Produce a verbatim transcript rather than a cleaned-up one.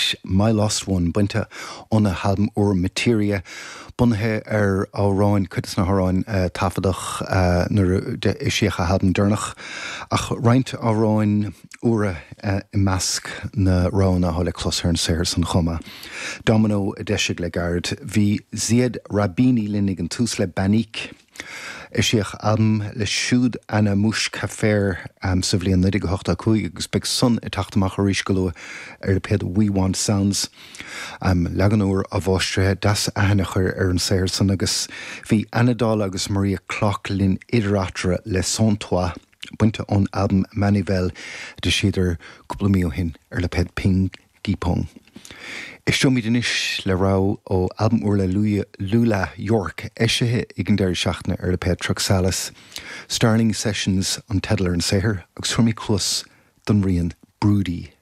leis My Lost One bainte óna halbam úr Materia, bunaithe ar amhráin cuid de na hamhráin uh, taifeadadh uh, nuair a eisíodh a halbam deireanach ach roinnt amhráin úra uh, i measc na roghanna atá le clos ar an saothar san chomh maith. Domino a d'eisigh le gairid bhí Ziad Rahbini linn ag an tús le Banik. Eisíodh albam leis siúd Anamouche Café um, sa bhliain naoi déag ochtó cúig agus beidh san ag teacht amach arís go luath ar lipéad We Want Sounds. Um, leagan úr amhaistrithe deas aithne chur ar an saothar san agus bhí Anna Dála agus Maria Clock linn idir eatarthu le Sans Toi bainte ón albam Manivel a d'eisíodar cúpla mí ó shin ar lipéad Ping Gi Pong. Éisteoimid anois le rogha ó albam úr le Lula York eisithe ag an deireadh seachtaine ar lipéad Truxalis. Starling Sessions an teideal ar an saothar agus tabharfaimid cluas don rian Broody.